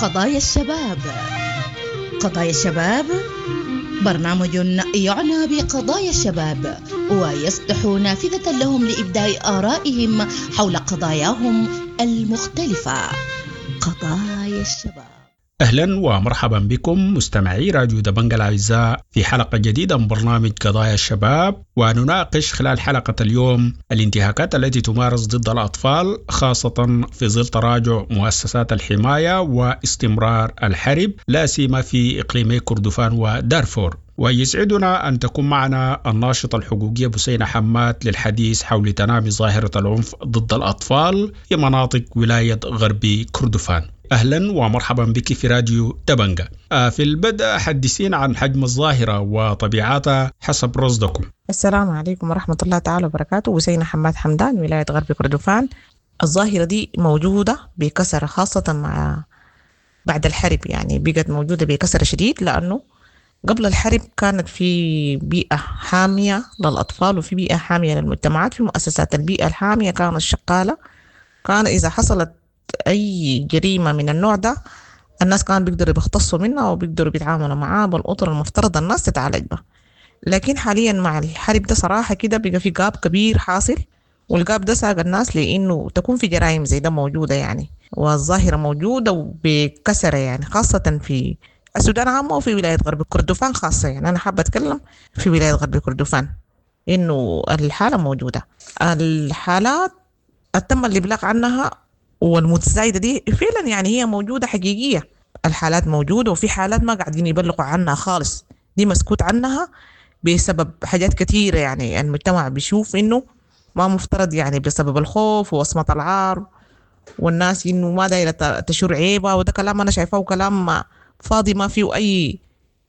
قضايا الشباب. قضايا الشباب برنامج يعنى بقضايا الشباب ويفتح نافذة لهم لإبداء آرائهم حول قضاياهم المختلفة. قضايا الشباب. أهلا ومرحبا بكم مستمعي راديو دبنجة الأعزاء في حلقة جديدة من برنامج قضايا الشباب، ونناقش خلال حلقة اليوم الانتهاكات التي تمارس ضد الأطفال، خاصة في ظل تراجع مؤسسات الحماية واستمرار الحرب، لا سيما في إقليمي كردفان ودارفور. ويسعدنا أن تكون معنا الناشطة الحقوقية بسينة حماد للحديث حول تنامي ظاهرة العنف ضد الأطفال في مناطق ولاية غرب كردفان. أهلا ومرحبا بك في راديو دبنجة. في البدء حدثينا عن حجم الظاهرة وطبيعتها حسب رصدكم. السلام عليكم ورحمة الله تعالى وبركاته. بسينة حماد حمدان، ولاية غرب كردفان. الظاهرة دي موجودة بكثرة، خاصة مع بعد الحرب، يعني بقت موجودة بكثرة شديد، لأنه قبل الحرب كانت في بيئة حامية للأطفال وفي بيئة حامية للمجتمعات. في مؤسسات البيئة الحامية كانت شغالة، كان إذا حصلت أي جريمة من النوع ده الناس كانوا بيقدروا بيختصوا منها وبيقدروا بيتعاملوا معاها بالأطر المفترض الناس تتعالج بها. لكن حاليا مع الحرب ده صراحة كده بقى في gap كبير حاصل، وال gap ده ساق الناس لأنه تكون في جرائم زي ده موجودة يعني، والظاهرة موجودة وبكثرة يعني، خاصة في السودان عامة وفي ولاية غرب كردفان خاصة. يعني أنا حابة أتكلم في ولاية غرب كردفان إنه الحالة موجودة، الحالات تم الإبلاغ عنها والمتزايدة دي فعلا يعني هي موجودة حقيقية، الحالات موجودة، وفي حالات ما قاعدين يبلغوا عنها خالص، دي مسكوت عنها بسبب حاجات كثيرة. يعني المجتمع بيشوف إنه ما مفترض، يعني بسبب الخوف ووصمة العار والناس إنه ما دايرة تشور عيبة، وده كلام أنا شايفاه كلام فاضي ما فيه أي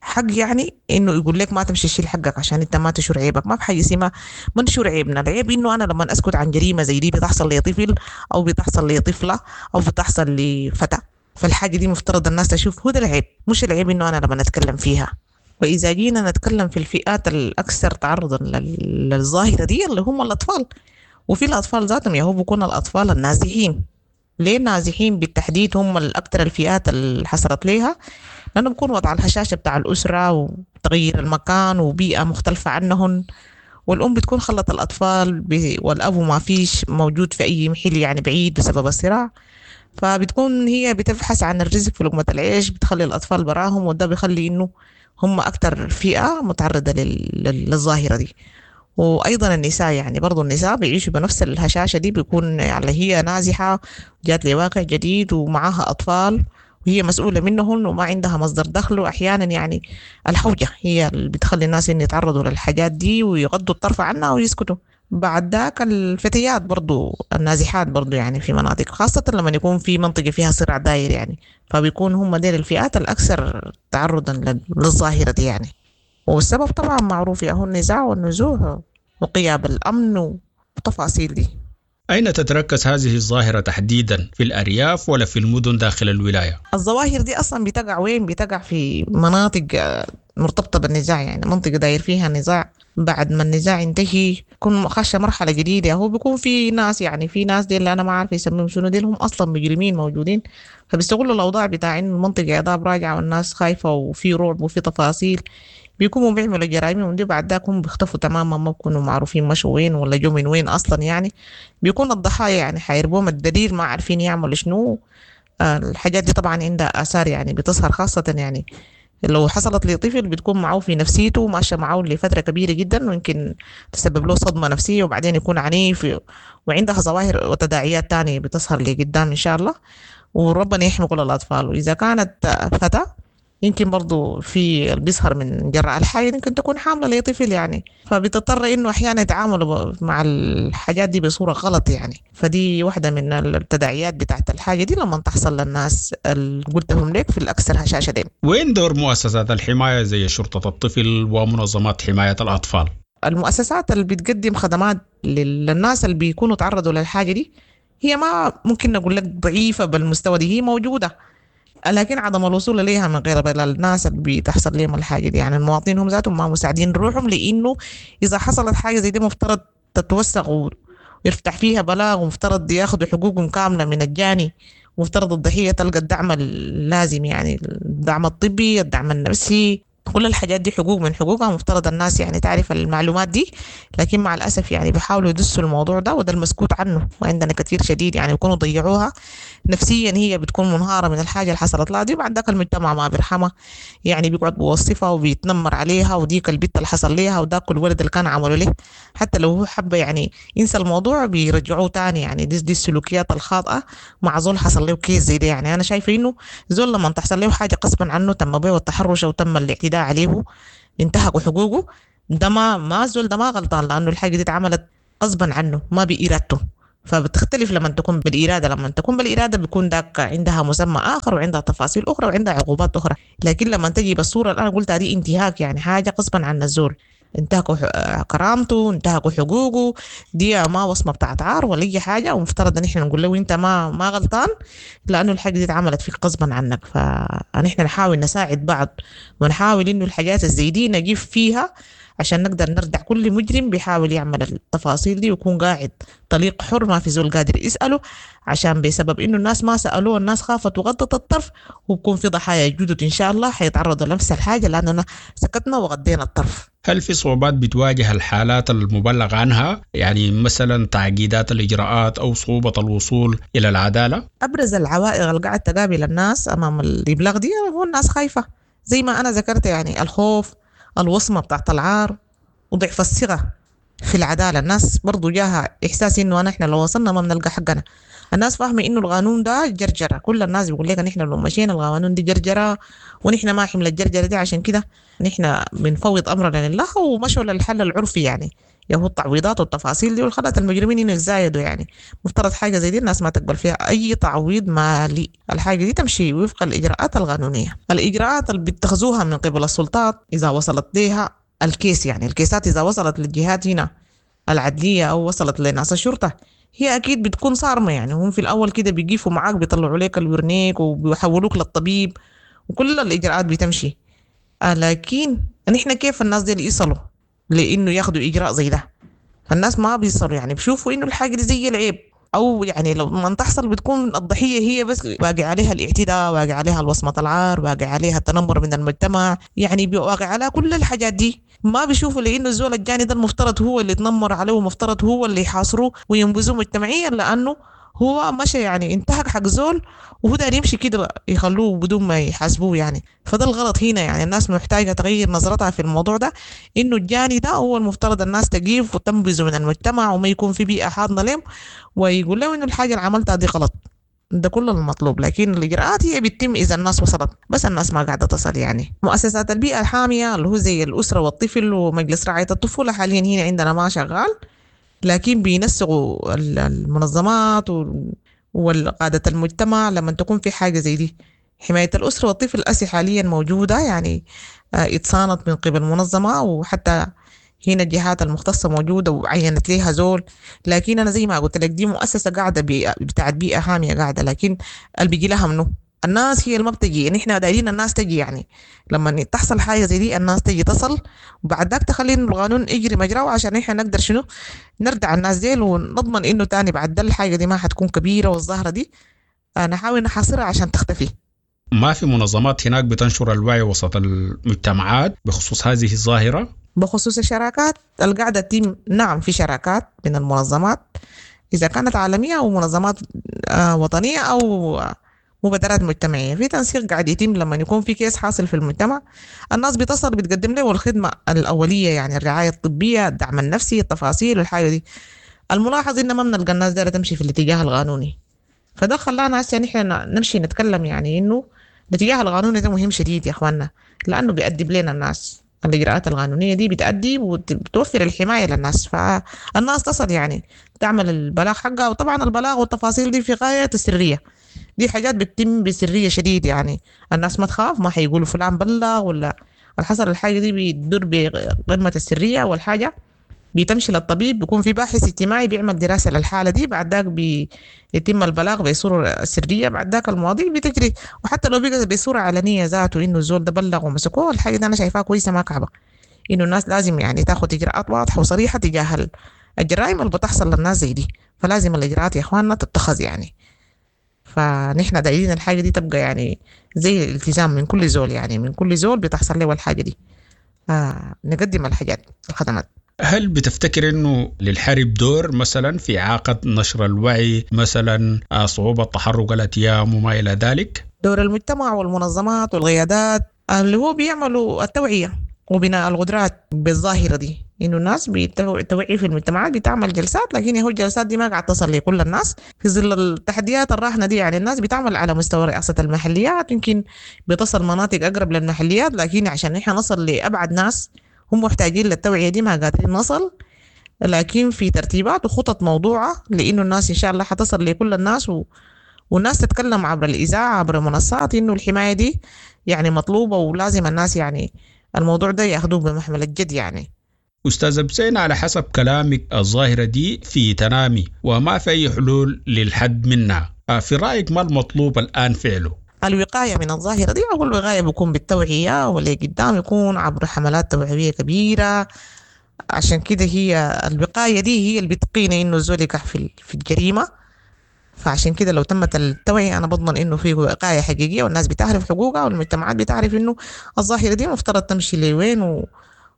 حق، يعني إنه يقول لك ما تمشي تشيل حقك عشان أنت ما تشور عيبك. ما في حاجة اسمها ما نشور عيبنا. العيب إنه أنا لما أسكت عن جريمة زي دي بتحصل لطفل أو بتحصل لطفلة أو بتحصل لفتاة، فالحاجة دي مفترض الناس تشوف هو ده العيب، مش العيب إنه أنا لما نتكلم فيها. وإذا جينا نتكلم في الفئات الأكثر تعرضا للظاهرة دي اللي هم الأطفال، وفي الأطفال ذاتهم يا هو بيكون الأطفال النازحين. ليه النازحين بالتحديد هم الأكثر الفئات اللي حصلت ليها؟ لأنه بيكون وضع الهشاشة بتاع الأسرة وتغيير المكان وبيئة مختلفة عنهن، والأم بتكون خلت الأطفال والأبو ما فيش موجود في أي محل يعني بعيد بسبب الصراع، فبتكون هي بتبحث عن الرزق في لقمة العيش، بتخلي الأطفال براهم، وده بيخلي إنه هم أكتر فئة متعرضة للظاهرة دي. وأيضا النساء، يعني برضو النساء بيعيشوا بنفس الهشاشة دي، بيكون يعني هي نازحة جات لواقع جديد ومعاها أطفال وهي مسؤولة منهن وما عندها مصدر دخل، وأحيانا يعني الحوجة هي اللي بتخلي الناس إن يتعرضوا للحاجات دي ويغضوا الطرف عنها ويسكتوا. بعد ذاك الفتيات برضو النازحات برضو يعني في مناطق، خاصة لما يكون في منطقة فيها صراع داير يعني، فبيكون هم ديل الفئات الأكثر تعرضا للظاهرة دي يعني. والسبب طبعا معروف، يا هو النزاع والنزوح وغياب الأمن والتفاصيل دي. أين تتركز هذه الظاهرة تحديدا، في الأرياف ولا في المدن داخل الولاية؟ الظواهر دي أصلا بتقع وين؟ بتقع في مناطق مرتبطة بالنزاع، يعني منطقة داير فيها نزاع، بعد ما النزاع ينتهي يكون خش مرحلة جديدة. هو بيكون في ناس، يعني في ناس دي اللي أنا ما عارفة يسميهم شنو، دي هم أصلا مجرمين موجودين، فبيستغلوا الأوضاع بتاع إنه المنطقة عذاب راجعة والناس خايفة وفي رعب وفي تفاصيل، بيكونوا بيعملوا جرائمهم دي، بعد ذاك هم بيختفوا تماما، ما بيكونوا معروفين مشوا وين ولا جو من وين أصلا. يعني بيكون الضحايا يعني حيربوهم الدليل، ما عارفين يعملوا شنو. الحاجات دي طبعا عندها آثار يعني بتظهر، خاصة يعني لو حصلت لطفل بتكون معه في نفسيته وماشية معه لفترة كبيرة جدا، ويمكن تسبب له صدمة نفسية وبعدين يكون عنيف، وعندها ظواهر وتداعيات تانية بتظهر لقدام إن شاء الله، وربنا يحمي كل الأطفال. وإذا كانت فتاة يمكن برضو في اللي بيظهر من جراء الحاجة يمكن تكون حاملة لطفل يعني، فبتضطر إنه أحيانا يتعاملوا مع الحاجات دي بصورة غلط يعني. فدي واحدة من التداعيات بتاعت الحاجة دي لما تحصل للناس اللي قلتهم لك في الأكثر هشاشة دي. وين دور مؤسسات الحماية زي شرطة الطفل ومنظمات حماية الأطفال؟ المؤسسات اللي بتقدم خدمات للناس اللي بيكونوا تعرضوا للحاجة دي هي ما ممكن نقول لك ضعيفة بالمستوى دي، هي موجودة، لكن عدم الوصول إليها من غير الناس اللي بتحصل لهم الحاجة دي، يعني المواطنين هم ذاتهم ما مساعدين روحهم، لأنه إذا حصلت حاجة زي دي مفترض تتوثق ويفتح فيها بلاغ، ومفترض ياخذوا حقوقهم كاملة من الجاني مفترض الضحية تلقى الدعم اللازم، يعني الدعم الطبي، الدعم النفسي، كل الحاجات دي حقوق من حقوقها، مفترض الناس يعني تعرف المعلومات دي، لكن مع الأسف يعني بيحاولوا يدسوا الموضوع ده، وده المسكوت عنه، وعندنا كثير شديد يعني يكونوا ضيعوها نفسيا، هي بتكون منهارة من الحاجة اللي حصلت لها دي، وبعد ذاك المجتمع ما بيرحمها، يعني بيقعد بيوصفها وبيتنمر عليها، وديك البت اللي حصل ليها وذاك الولد اللي كان عملوا له، حتى لو هو حب يعني ينسى الموضوع بيرجعوه تاني. يعني دي السلوكيات الخاطئة مع زول حصل له case زي ده. يعني أنا شايفة إنه زول لما تحصل له حاجة غصبا عنه، تم به التحرش وتم الاعتداء عليه، انتهكوا حقوقه، ده ما زول ده ما غلطان، لأنه الحاجة دي اتعملت غصبا عنه ما بإرادته. فبتختلف لما تكون بالإرادة، لما تكون بالإرادة بيكون ذاك عندها مسمى آخر وعندها تفاصيل أخرى وعندها عقوبات أخرى، لكن لما تجي بالصورة اللي أنا قلتها دي انتهاك، يعني حاجة غصبا عن الزول، انتهكوا كرامته، انتهكوا حقوقه، دي ما وصمة بتاعت عار ولا أي حاجة، ومفترض إن إحنا نقول له أنت ما غلطان، لأنه الحاجة دي اتعملت فيك غصبا عنك. فنحن نحاول نساعد بعض، ونحاول إنه الحاجات الزي دي نجيب فيها عشان نقدر نردع كل مجرم بيحاول يعمل التفاصيل دي، ويكون قاعد طليق حر ما في زول قادر يسأله، عشان بسبب إنه الناس ما سألوه الناس خافت وغطت الطرف، وبكون في ضحايا جدد إن شاء الله حيتعرضوا لنفس الحاجة، لأننا سكتنا وغطينا الطرف. هل في صعوبات بتواجه الحالات المبلغ عنها؟ يعني مثلا تعقيدات الإجراءات أو صعوبة الوصول إلى العدالة؟ أبرز العوائق اللي قاعد تقابل الناس أمام الإبلاغ دي هو الناس خايفة، زي ما أنا ذكرت، يعني الخوف، الوصمة بتاعت العار، وضعف الثقة في العدالة. الناس برضو جاها إحساس إنه نحن لو وصلنا ما بنلقى حقنا. الناس فاهمة إنه القانون ده جرجرة، كل الناس بيقول لك نحن لو مشينا القانون دي جرجرة، ونحن ما حمل الجرجرة دي، عشان كده نحن بنفوض أمرنا لله، ومشوا للحل العرفي، يعني يهو التعويضات والتفاصيل دي، والخلت المجرمين إنه يتزايدوا. يعني مفترض حاجة زي دي الناس ما تقبل فيها أي تعويض مالي، الحاجة دي تمشي وفق الإجراءات القانونية، الإجراءات اللي بيتخذوها من قبل السلطات إذا وصلت لها ال case، يعني الكيسات إذا وصلت للجهات هنا العدلية أو وصلت لناس الشرطة، هي أكيد بتكون صارمة. يعني هم في الأول كده بيقفوا معاك، بيطلعوا لك الورنيك وبيحولوك للطبيب وكل الإجراءات بتمشي، لكن نحن كيف الناس دي اللي يصلوا لإنه ياخدوا إجراء زي ده؟ فالناس ما بيصلوا، يعني بيشوفوا إنه الحاجة دي زي العيب، أو يعني لو ما تحصل بتكون الضحية هي بس باقي عليها الاعتداء، باقي عليها الوصمة العار، باقي عليها التنمر من المجتمع، يعني باقي على كل الحاجات دي. ما بيشوفوا لأنه الزول الجاني ده المفترض هو اللي يتنمر عليه، ومفترض هو اللي يحاصروه وينبذوه مجتمعيا، لأنه هو مشى يعني انتهك حق زول وهو داير يمشي كده يخلوه بدون ما يحاسبوه يعني. فده الغلط هنا، يعني الناس محتاجة تغير نظرتها في الموضوع ده، إنه الجاني ده هو المفترض الناس تقيف وتنبذه من المجتمع، وما يكون في بيئة حاضنة لهم، ويقول له إنه الحاجة اللي عملتها دي غلط. ده كل المطلوب، لكن الإجراءات هي بتتم إذا الناس وصلت، بس الناس ما قاعدة تصل. يعني مؤسسات البيئة الحامية اللي هو زي الأسرة والطفل ومجلس رعاية الطفولة حاليا هنا عندنا ما شغال، لكن بينسقوا المنظمات والقادة المجتمع لما تكون في حاجة زي دي. حماية الأسرة والطفل أسي حاليا موجودة، يعني اتصانت من قبل منظمة، وحتى هنا الجهات المختصة موجودة وعينت ليها زول. لكن أنا زي ما قلت لك دي مؤسسة قاعدة بتاعت بيئة حامية قاعدة، لكن اللي بيجي لها منه الناس هي اللي ما بتجي. نحن دايرين الناس تجي، يعني لما تحصل حاجة زي دي الناس تجي تصل، وبعد ذاك تخلي القانون يجري مجراه، عشان نحن نقدر شنو نردع الناس ديل، ونضمن انه تاني بعد ده الحاجة دي ما حتكون كبيرة، والظاهرة دي نحاول نحاصرها عشان تختفي. ما في منظمات هناك بتنشر الوعي وسط المجتمعات بخصوص هذه الظاهرة؟ بخصوص الشراكات القاعدة تتم، نعم في شراكات من المنظمات، إذا كانت عالمية أو منظمات وطنية أو مبادرات مجتمعية. في تنسيق قاعد يتم لما يكون في كيس حاصل في المجتمع، الناس بتصل بتقدم له الخدمة الأولية، يعني الرعاية الطبية، الدعم النفسي، التفاصيل الحاجة دي. الملاحظ إن ما بنلقى الناس دايرة تمشي في الاتجاه القانوني، فده خلانا هسه نحن نمشي نتكلم يعني إنه الاتجاه القانوني ده مهم شديد يا إخواننا، لأنه بيأدب لنا الناس. الإجراءات القانونية دي بتأدي وبتوفر الحماية للناس، فالناس تصل يعني تعمل البلاغ حقها. وطبعا البلاغ والتفاصيل دي في غاية السرية، دي حاجات بتتم بسرية شديد، يعني الناس ما تخاف، ما حيقولوا فلان بلغ ولا الحصل. الحاجة دي بتدور بقمة السرية، والحاجة بتمشي للطبيب، بيكون في باحث اجتماعي بيعمل دراسة للحالة دي، بعد ذاك بيتم البلاغ بصورة سرية، بعد ذاك المواضيع بتجري. وحتى لو بقى بصورة علنية ذاته إنه الزول ده بلغ ومسكوه، الحاجة دي أنا شايفاها كويسة ما كعبة، إنه الناس لازم يعني تاخد إجراءات واضحة وصريحة تجاه الجرائم اللي بتحصل للناس زي دي. فلازم الإجراءات يا إخواننا تتخذ يعني. فنحن دايرين الحاجة دي تبقى يعني زي الالتزام من كل زول، يعني من كل زول بتحصل له الحاجة دي. نقدم الحاجات الخدمات. هل بتفتكر انه للحرب دور مثلا في اعاقه نشر الوعي، مثلا صعوبة تحرك الاتيام وما الى ذلك؟ دور المجتمع والمنظمات والقيادات اللي هو بيعملوا التوعية وبناء القدرات بالظاهره دي، انه الناس بتوعي في المجتمعات، بتعمل جلسات، لكن هو الجلسات دي ما قاعد تصل لكل الناس في ظل التحديات الراهنة دي. يعني الناس بتعمل على مستوى رئاسة المحليات، يمكن بتصل مناطق اقرب للمحليات، لكن عشان نحن نصل لابعد ناس هم محتاجين للتوعية دي ما قادرين نصل. لكن في ترتيبات وخطط موضوعه لانه الناس ان شاء الله حتصل لكل الناس، والناس تتكلم عبر الاذاعة عبر منصات انه الحماية دي يعني مطلوبه، ولازم الناس يعني الموضوع ده ياخذوه بمحمل الجد يعني. أستاذ بسين، على حسب كلامك الظاهرة دي في تنامي وما في أي حلول للحد منها، في رأيك ما المطلوب الآن فعله؟ الوقاية من الظاهرة دي، أول وقاية بيكون بالتوعية، واللي قدام يكون عبر حملات توعوية كبيرة. عشان كده هي الوقاية دي هي اللي بتقينا إنه الزول يقع في الجريمة. فعشان كده لو تمت التوعية أنا بضمن إنه في وقاية حقيقية، والناس بتعرف حقوقها، والمجتمعات بتعرف إنه الظاهرة دي مفترض تمشي لوين،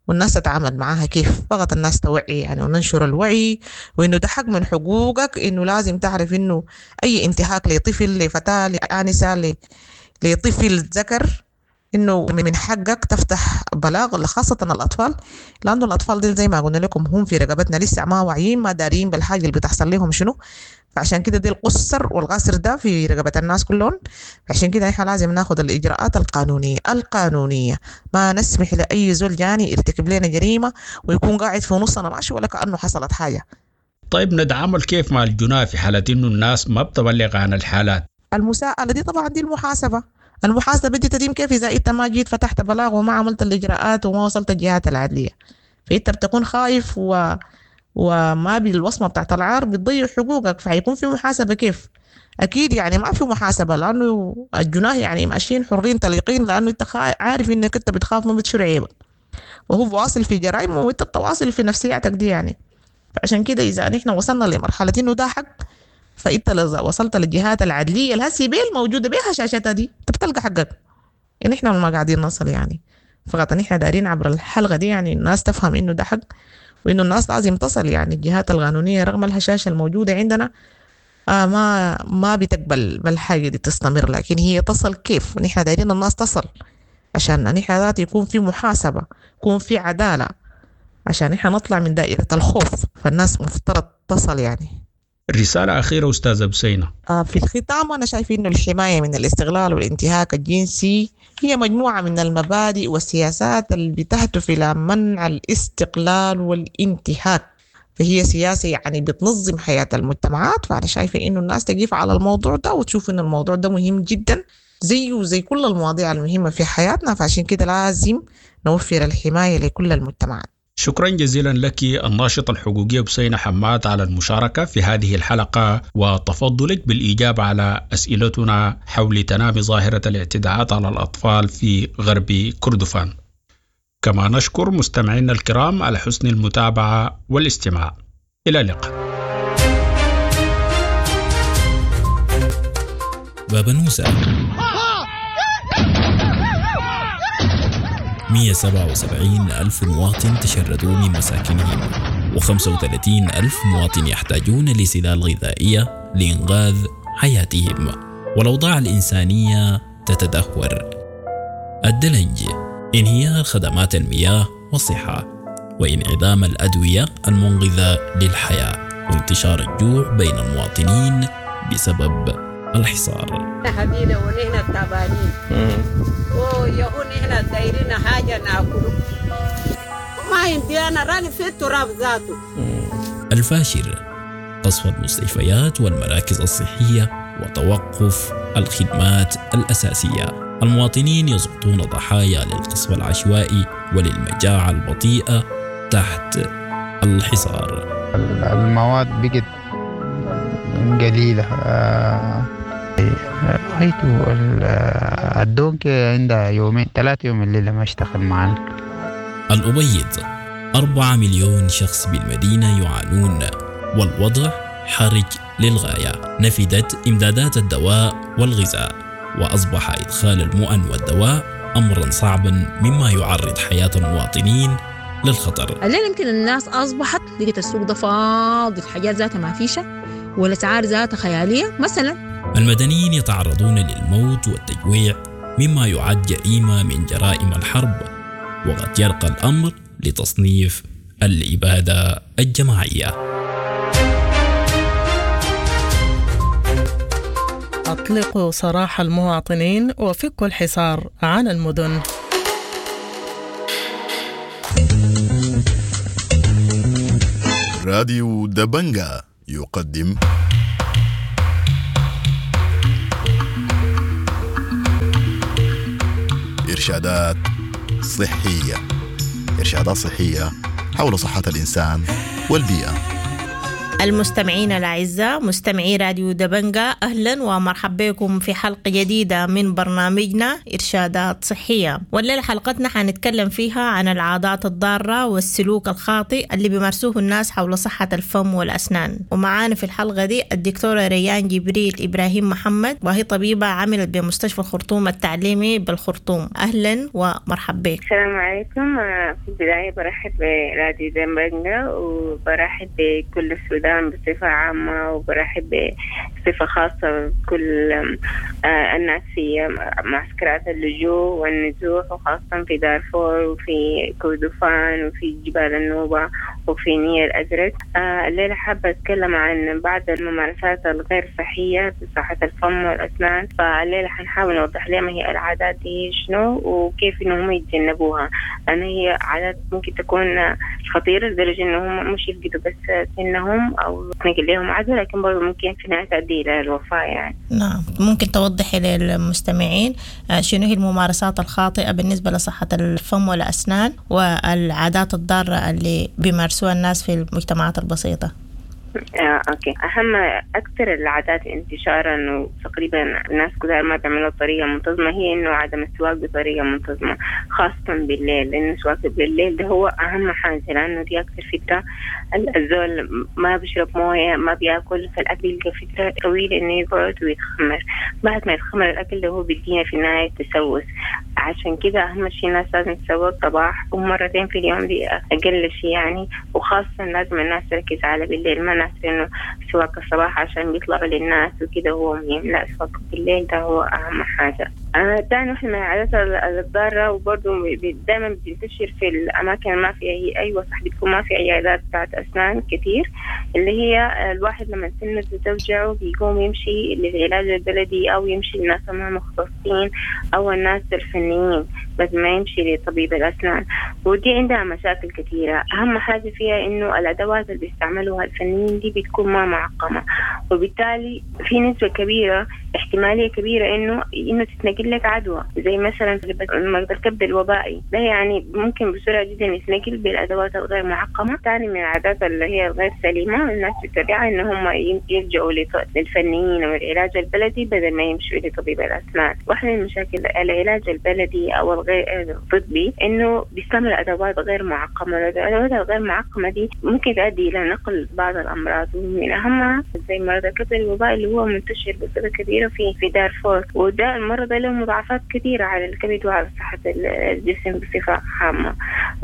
والناس تتعامل معاها كيف. فقط الناس توعي يعني، وننشر الوعي، وإنه ده حق من حقوقك، إنه لازم تعرف إنه أي انتهاك لطفل، لفتاة، لآنسة، لطفل ذكر، إنه من حقك تفتح بلاغ، خاصة الأطفال، لأنه الأطفال دي زي ما قلنا لكم هم في رقبتنا لسه ما واعيين، ما دارين بالحاجة اللي بتحصل لهم شنو. فعشان كده دي القصر والقصر ده في رقبة الناس كلهم. عشان كده احنا لازم ناخد الإجراءات القانونية، ما نسمح لأي زول جاني يرتكب لنا جريمة ويكون قاعد في نصنا ماشي ولا كأنه حصلت حاجة. طيب نتعامل كيف مع الجناة في حالة إنه الناس ما بتبلغ عن الحالات؟ المساءلة دي طبعا دي المحاسبة. المحاسبة دي تتم كيف إذا أنت ما جيت فتحت بلاغ وما عملت الإجراءات وما وصلت الجهات العدلية؟ فأنت بتكون خايف وما بالوصمة بتاعت العار بتضيع حقوقك، فحيكون في محاسبة كيف؟ أكيد يعني ما في محاسبة، لأنه الجناه يعني ماشيين حرين طليقين، لأنه أنت عارف إنك أنت بتخاف ما بتشيل عيبك، وهو واصل في جرائمه وأنت بتواصل في نفسياتك دي يعني. فعشان كده إذا نحن وصلنا لمرحلة إنه ده حق، فأنت وصلت للجهات العدلية الهسي بيل موجودة بيها شاشتها دي، أنت بتلقى حقك. يعني إحنا ما قاعدين نصل يعني، فقط نحن دارين عبر الحلقة دي يعني الناس تفهم إنه ده حق، وإنه الناس لازم تصل يعني الجهات القانونية رغم الهشاشة الموجودة عندنا ما بتقبل بالحاجة دي تستمر، لكن هي تصل كيف؟ نحن دايرين الناس تصل عشان نحن ذات يكون في محاسبة، يكون في عدالة، عشان نحن نطلع من دائرة الخوف. فالناس مفترض تصل يعني. رسالة أخيرة أستاذة بسينة. في الختام أنا شايف إنه الحماية من الاستغلال والانتهاك الجنسي هي مجموعة من المبادئ والسياسات اللي بتهدف إلى منع الاستقلال والانتهاك، فهي سياسة يعني بتنظم حياة المجتمعات. فأنا شايفة إنه الناس تقف على الموضوع ده وتشوف إنه الموضوع ده مهم جدا زيه وزي كل المواضيع المهمة في حياتنا، فعشان كده لازم نوفر الحماية لكل المجتمعات. شكرا جزيلا لك الناشطة الحقوقية بسينة حماد على المشاركة في هذه الحلقة وتفضلك بالإجابة على أسئلتنا حول تنامي ظاهرة الاعتداءات على الأطفال في غرب كردفان. كما نشكر مستمعينا الكرام على حسن المتابعة والاستماع. إلى اللقاء. بابنوسة 177 ألف مواطن تشردوا من مساكنهم، و35 ألف مواطن يحتاجون لسلال غذائية لإنقاذ حياتهم، والأوضاع الإنسانية تتدهور. الدلنج، انهيار خدمات المياه والصحة، وانعدام الأدوية المنقذة للحياة، وانتشار الجوع بين المواطنين بسبب الحصار. حبينا ونحن تعبانين ويهون نحن دايرين حاجة ناكله ما عندي أنا راني في التراب ذاته. الفاشر، قصف المستشفيات والمراكز الصحية وتوقف الخدمات الأساسية. المواطنين يسقطون ضحايا للقصف العشوائي وللمجاعة البطيئة تحت الحصار. المواد بقت قليلة. رأيته الدونك عندها يومين 3 يوم الليلة ما اشتغل معنا. الأبيض، 4 مليون شخص بالمدينة يعانون، والوضع حرج للغاية. نفدت إمدادات الدواء والغذاء، وأصبح إدخال المؤن والدواء أمرا صعبا، مما يعرض حياة المواطنين للخطر. الليلة يمكن الناس أصبحت لقيت السوق ده فاضي، الحاجات ذاتها ما فيشة والأسعار ذاتها خيالية مثلا. المدنيين يتعرضون للموت والتجويع، مما يعد جريمة من جرائم الحرب، وقد يرقى الأمر لتصنيف الإبادة الجماعية. أطلقوا سراح المواطنين وفكوا الحصار عن المدن. راديو دبنجا يقدم إرشادات صحية. إرشادات صحية حول صحة الإنسان والبيئة. المستمعين الأعزاء، مستمعي راديو دبنجا، أهلا ومرحبا بكم في حلقة جديدة من برنامجنا إرشادات صحية. والليلة حلقتنا حنتكلم فيها عن العادات الضارة والسلوك الخاطئ اللي بيمارسوه الناس حول صحة الفم والأسنان. ومعانا في الحلقة دي الدكتورة ريان جبريل إبراهيم محمد، وهي طبيبة عملت بمستشفى الخرطوم التعليمي بالخرطوم. أهلا ومرحبا بك. السلام عليكم. في البداية برحب براديو دبنجا وبرحب بكل السودان بصفة عامة، وبرحب بصفة خاصة بكل الناس في معسكرات اللجوء والنزوح، وخاصة في دارفور وفي كردفان وفي جبال النوبة وفي نيل الأزرق. الليلة حابة أتكلم عن بعض الممارسات الغير صحية في صحة الفم والأسنان. فالليلة حنحاول نوضح لهم هي العادات دي شنو وكيف إنهم يتجنبوها، لأن هي عادات ممكن تكون خطيرة لدرجة إنهم مش يفقدوا بس سنهم أو تنقل لهم عدوى، لكن برضه ممكن في نهاية تؤدي إلى الوفاة يعني. نعم، ممكن توضحي للمستمعين شنو هي الممارسات الخاطئة بالنسبة لصحة الفم والأسنان والعادات الضارة اللي بيمارسوها الناس في المجتمعات البسيطة؟ okay، أهم أكثر العادات انتشارا وتقريبا الناس كلها ما بيعملوها بطريقة منتظمة هي إنه عدم السواك بطريقة منتظمة، خاصة بالليل، لأنه السواك بالليل ده هو أهم حاجة، لأنه دي أكثر فترة الزول ما بيشرب موية، ما بياكل، فالأكل يلقى فترة طويلة إنه يقعد ويتخمر. بعد ما يتخمر الأكل ده هو بيدينا في النهاية تسوس. عشان كده أهم شيء الناس لازم تسوق صباح ومرتين في اليوم، دي أقل شيء يعني. وخاصة لازم الناس تركز على بالليل، ما ناس إنه سواك الصباح عشان بيطلعوا للناس وكده هو مهم، لا، سواك بالليل ده هو أهم حاجة. تاني واحدة من العادات الضارة وبرضه دائما بتنتشر في الأماكن ما فيها هي، أيوة صح، بتكون ما في عيادات بتاعت أسنان كتير، اللي هي الواحد لما سنه توجعه بيقوم يمشي للعلاج البلدي أو يمشي للناس ما مختصين أو الناس الفنيين، بس ما يمشي لطبيب الأسنان. ودي عندها مشاكل كثيرة. أهم حاجة فيها إنه الأدوات اللي بيستعملوها الفنيين دي بتكون ما معقمة، وبالتالي في نسبة كبيرة، احتمالية كبيرة إنه تتنقل لك عدوى، زي مثلا مرض الكبد الوبائي ده، يعني ممكن بسرعة جدا يتنقل بالأدوات الغير معقمة. ثاني من العادات اللي هي الغير سليمة الناس بتتبعها إن هم يلجأوا للفنيين والعلاج البلدي بدل ما يمشوا لطبيب الأسنان. واحدة من مشاكل العلاج البلدي أو الغير الطبي إنه بيستعمل أدوات غير معقمة. الأدوات الغير معقمة دي ممكن تؤدي إلى نقل بعض الأمراض، ومن أهمها زي مرض الكبد الوبائي اللي هو منتشر بصورة كبيرة في دارفور، وده المرض له مضاعفات كثيرة على الكبد وعلى صحة الجسم بصفة عامة.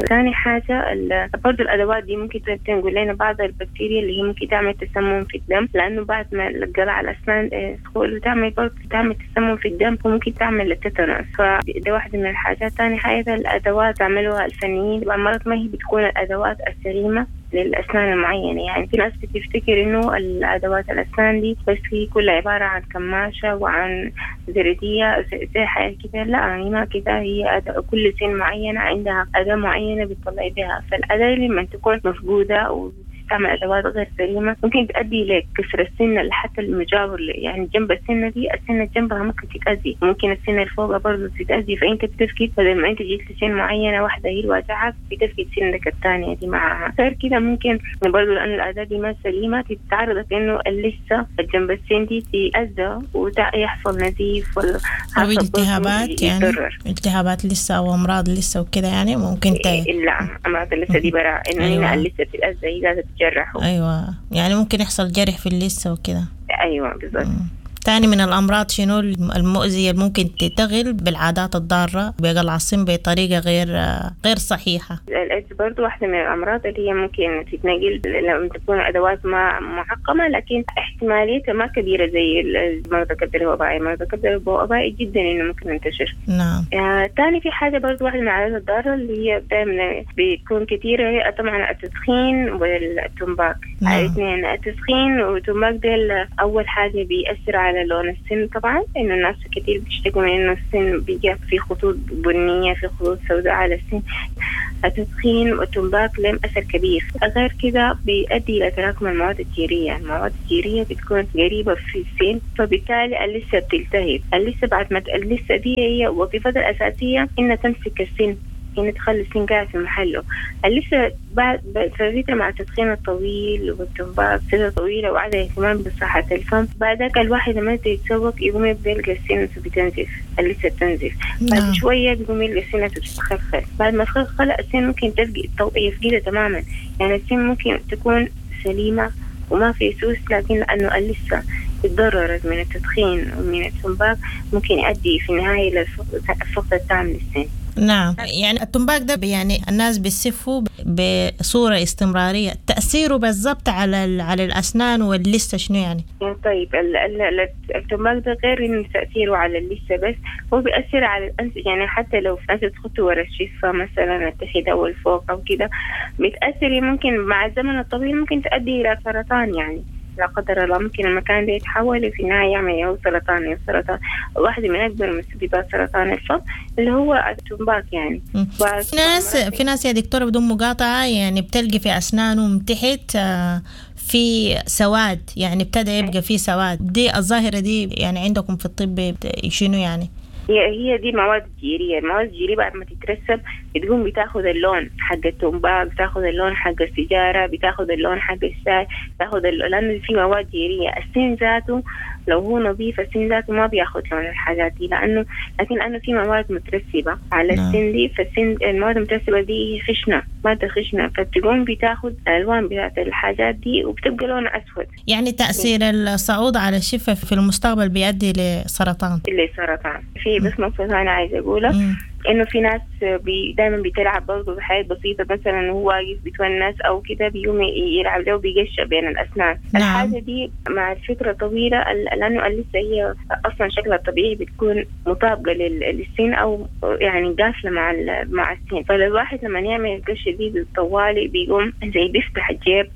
ثاني حاجة برضو الأدوات دي ممكن تنقل لنا بعض البكتيريا اللي هي ممكن تعمل تسمم في الدم، لأنه بعد ما القلع على الأسنان تدخل وتعمل برضو تعمل تسمم في الدم وممكن تعمل التيتانوس، فده واحدة من الحاجات. ثاني حاجة الأدوات تعملوها الفنيين مرات ما هي بتكون الأدوات السليمة للأسنان المعينة، يعني في ناس بتفتكر إنه الأدوات الأسنان دي بس هي كلها عبارة عن كماشة وعن زردية زي حاجة كده، لا يعني ما كده، هي كل سن معينة عندها أداة معينة بتطلع بها، فالأداة لما تكون مفقودة وتستعمل أدوات غير سليمة ممكن تؤدي لكسر السنة حتى المجاور، يعني جنب السنة دي السنة جنبها ممكن تتأذي، ممكن السنة اللي فوقها برضه تتأذي، فأنت بتفقد بدل ما أنت جيت لسن معينة واحدة هي الواجعة بتفقد سنك الثانية دي معها. غير كده ممكن برضه لأن الأداة دي ما سليمة تتعرضك إنه لسه جنب السن دي تتأذى ويحصل نزيف ولا أو التهابات، يعني التهابات لسه أو أمراض لسه وكده، يعني ممكن لا أمراض لسه دي براء إنه هنا لسه بتتأذى، هي بيتجرحوا. أيوة، يعني ممكن يحصل جرح في اللثة وكده. أيوة بالضبط. تاني من الأمراض شنو المؤذية اللي ممكن تتغل بالعادات الضارة بقلع السن بطريقة غير صحيحة؟ الإيدز برضو واحدة من الأمراض اللي هي ممكن تتنقل لما تكون أدوات ما معقمة، لكن احتماليتها ما كبيرة زي مرض الكبد الوبائي. مرض الكبد الوبائي جدا إنه ممكن ينتشر. نعم. تاني في حاجة برضو واحدة من العادات الضارة اللي هي دائما بتكون كثيرة، هي طبعا التدخين والتمباك. نعم. الاثنين، التدخين والتمباك ديل أول حاجة بيأثر على لون السن طبعا، إنه الناس كتير بيشتكوا من إنه السن بيجي في خطوط بنية، في خطوط سوداء على السن. التدخين والتمباك لهم أثر كبير. غير كده بيؤدي إلى تراكم المواد الجيرية. المواد الجيرية بتكون قريبة في السن، فبالتالي اللثة بتلتهب. اللثة بعد ما اللثة دي هي وظيفتها الأساسية إنها تمسك السن، إنها تخلي السن قاعد في محله. اللثة بعد فترة مع التدخين الطويل والتمباك فترة طويلة وعدم اهتمام بصحة الفم، بعدك الواحد لما يتسوق يقوم يبدأ يلقى السن بتنزف، اللثة بتنزف. بعد شوية بيقوم يلقى السن بتتخلخل. بعد ما تخلخل السن ممكن يفقدها تماما. يعني السن ممكن تكون سليمة وما في سوس، لكن لأنه اللثة تضررت من التدخين ومن التمباك ممكن يؤدي في النهاية للفقد التام للسن. نعم، يعني التمباك ده يعني الناس بيسفوا بصورة استمرارية، تأثيره بالضبط على الأسنان واللثة شنو يعني؟ طيب التمباك ده غير إنه تأثيره على اللثة بس، هو بيأثر على الأنف. يعني حتى لو أنت تخطي ورا الشفة مثلا التحت أو الفوق أو كده بتأثر، ممكن مع الزمن الطويل ممكن تؤدي إلى سرطان. يعني لا قدر الله ممكن المكان ده يتحول في النهاية يعمل سرطان. سرطان واحدة من أكبر مسببات سرطان الفم اللي هو التمباك يعني. في ناس يا دكتورة بدون مقاطعة يعني بتلقي في أسنانهم تحت في سواد، يعني ابتدى يبقى في سواد. دي الظاهرة دي يعني عندكم في الطب شنو يعني؟ هي دي مواد جيرية. المواد الجيرية بعد ما تترسب بتقوم بتاخذ اللون حق التمباك، بتاخذ اللون حق السيجارة، بتاخذ اللون حق الشاي، بتاخذ لأنه في مواد جيرية. السن ذاته لو هو نظيف السن ذاته ما بياخذ لون الحاجات دي، لكن لأنه في مواد مترسبة على السن دي، فالسن المواد المترسبة دي هي خشنة، مادة خشنة، فبتقوم بتاخذ الألوان بتاعت الحاجات دي وبتبقى لون أسود. يعني تأثير الصعود على الشفة في المستقبل بيؤدي لسرطان. لسرطان. في بس نقطة أنا عايزة أقولها، إنه في ناس دايما بتلعب برضه بحاجات بسيطة، مثلا هو واقف بيتونس أو كده بيقوم يلعب له بيقشع بين الأسنان. نعم. الحاجة دي مع الفترة طويلة، لأنه اللثة هي أصلا شكلها الطبيعي بتكون مطابقة للسن أو يعني قافلة مع السن، فالواحد لما يعمل القشة دي بالطوالي بيقوم زي بيفتح الجيب،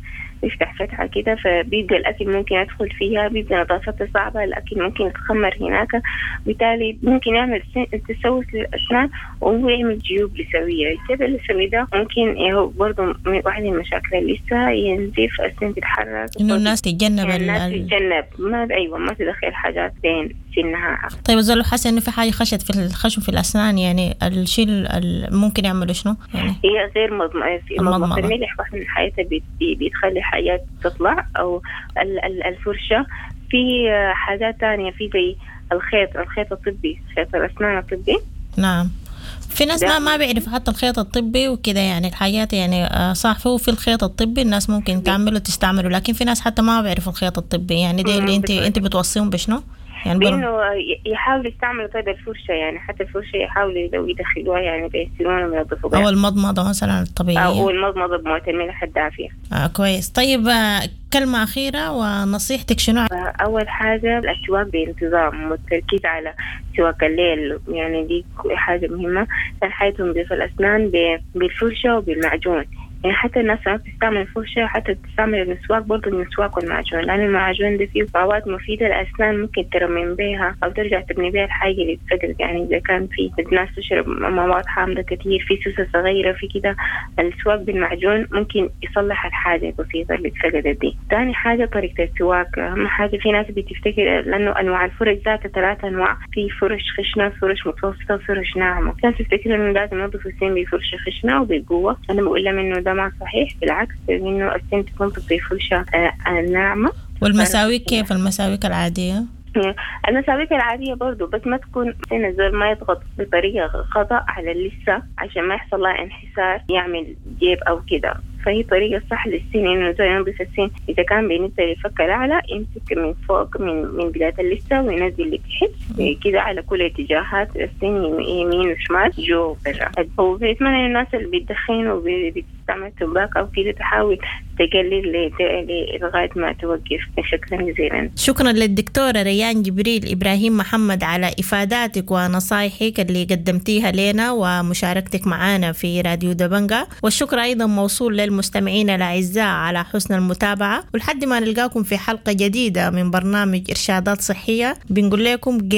بيفتح فتحة كده، فبيبقى الأكل ممكن يدخل فيها، بيبقى نظافتها صعبة، الأكل ممكن يتخمر هناك، بالتالي ممكن يعمل تسوس للأسنان وهو يعمل جيوب لثوية. الجيب اللثوي ده ممكن هو برضه من واحد من المشاكل اللثة، ينزف، السن تتحرك، إنه الناس تتجنب يعني الناس تتجنب ما أيوة ما تدخل حاجات بين سنها. طيب الزول حاسس إنه في حاجة خشت في الخشم في الأسنان، يعني الشيء ممكن يعمله شنو؟ يعني هي غير مضمضة الملح واحد من الحاجات بتخلي حاجات تطلع، أو الفرشة. في حاجات تانية، في زي الخيط الطبي، خيط الأسنان الطبي. نعم، في ناس ما بيعرفوا حتى الخيط الطبي وكده، يعني الحاجات يعني صح، هو في الخيط الطبي الناس ممكن تعمله تستعمله، لكن في ناس حتى ما بيعرفوا الخيط الطبي. يعني دي اللي انت بتوصيهم بشنو؟ يعني بانه يحاولوا يستعملوا طيب الفرشة، يعني حتى الفرشة يحاولوا لو يدخلوها يعني بيسنونهم وينظفوا بها، أو المضمضة مثلا الطبيعية، أو المضمضة بمويه الملح الدافية. كويس. طيب كلمة أخيرة ونصيحتك شنو؟ أول حاجة السواك بانتظام والتركيز على سواك الليل، يعني دي حاجة مهمة. ثاني حاجة تنظيف الأسنان بالفرشة وبالمعجون، يعني حتى الناس ما بتستعمل الفرشة، حتى بتستعمل المسواك برضه، المسواك والمعجون، لأن المعجون ده فيه مواد مفيدة للأسنان ممكن ترمم بيها أو ترجع تبني بيها الحاجة اللي اتفقدت. يعني إذا كان في الناس تشرب مواد حامضة كتير، في سوسة صغيرة، في كده، السواك بالمعجون ممكن يصلح الحاجة البسيطة اللي اتفقدت دي. تاني حاجة طريقة السواك، أهم حاجة في ناس بتفتكر لأنه أنواع الفرش ذاتها 3 أنواع، في فرش خشنة، فرش متوسطة، فرش ناعمة. ناس تفتكر إنه لازم ينظفوا السن بفرشة خشنة وبقوة، أنا بقول لهم إنه ده ما صحيح، بالعكس إنه السن تكون بفرشة ناعمة. والمساويك كيف؟ المساويك العادية؟ المساويك العادية برضو، بس ما تكون سن الزول ما يضغط بطريقة خطأ على اللثة عشان ما يحصل لها انحسار يعمل جيب أو كده. فهي طريقة صح للسن إنه زي ينظف السن، إذا كان بالنسبة للفك الأعلى يمسك من فوق من بداية اللثة وينزل لتحت كده على كل اتجاهات السن، يمين وشمال، جوا وبرا. وبيتمنى إنه الناس اللي بتدخن وبتستعمل تمباك أو كده تحاول تقلل لغاية ما توقف. شكرا جزيلا. شكرا للدكتورة ريان جبريل إبراهيم محمد على إفاداتك ونصايحك اللي قدمتيها لنا ومشاركتك معنا في راديو دبنجا، والشكر أيضا موصول للمستمعين الأعزاء على حسن المتابعة، ولحد ما نلقاكم في حلقة جديدة من برنامج إرشادات صحية بنقول لكم جي.